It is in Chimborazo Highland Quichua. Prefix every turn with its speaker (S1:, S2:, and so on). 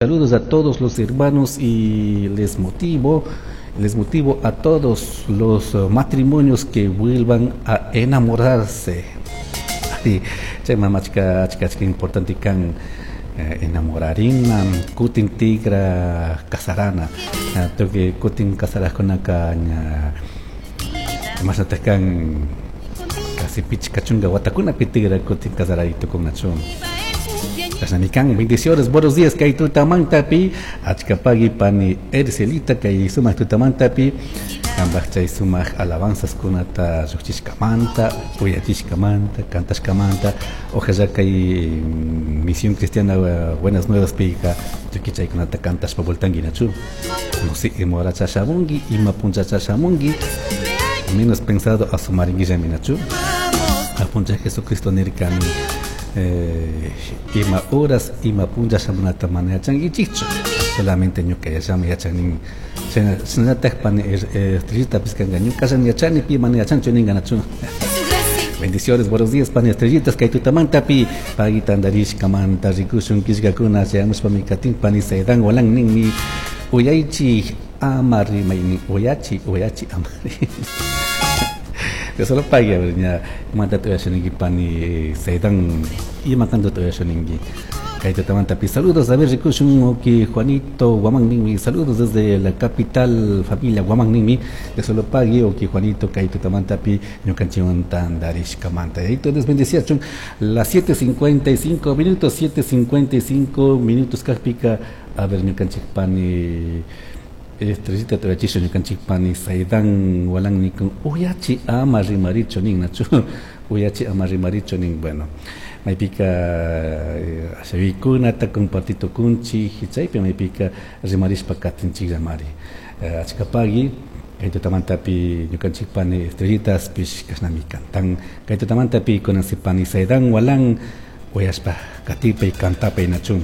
S1: Saludos a todos los hermanos y les motivo a todos los matrimonios que vuelvan a enamorarse. Chay achka achka achka importante kan enamorarina, kutin tigra casarana. Tukuy kutin casarajkunaka ña imashnataq kan casi 50 watakunapi tigra kutin casaray tukunnachu. Chashnami kan, bendiciones, buenos días kay tutamantapi, achka pagui pani Ercelita kay sumaq tutamantapi, kanpaj chay sumaq alabanzas kunata lluqchishkamanta, uyachishkamanta, cantashkamanta, ojalá kay Misión Cristiana Buenas Nuevas pika tukuy chaykunata cantashpa vueltanki nachu. No sé, ima horacha shamunki, ima punchacha shamunki, menos pensado asumarinquillami nachu. Apuncha Jesucristo nirkami ima horas ima puncha shamunata mana yachankichikchu, solamente ñuka yachami yachanin. Shinallatak pani Estrellita kanka ñukallami yachani, pi mana yachanchu ninka nachu. Bendiciones, buenos días, pani Estrellitas, kay tutamantapi, pagui tandarishkamanta rikushun killkakuna chayamushpami katin pani Saidan Walan ninmi uyaychik ama rimaynin uyachi uyachi ama. De solo pagui, a ver, ña imantata uyashaninki pani Saidan, ima kantata uyashaninki kay tutamantapi. Saludos, a ver, rikushun uki Juanito Guamán ninmi saludos desde la capital, familia Guamán ninmi de solo pagui uki Juanito kay tutamantapi ñukanchikwan tandarishkamanta. Entonces bendeciachun las 7:55 minutos, 7:55 minutos kajpika, a ver, ñukanchik pani Estrellita tuyachisha ñukanchik pani Saidan Walan nikun uyachi ama rimarichu nin nachu, uyachi ama rimarichu nin. Bueno, maypika ashawikunata compartitukunchik, chaypi maypika rimarishpa katinchikllamari. Achka pagui kay tutamantapi ñukanchik pani Estrellitas pish kashnami cantan kay tutamantapi. Kunan si pani Saidan Walan uyashpa katipay, cantapay nachun.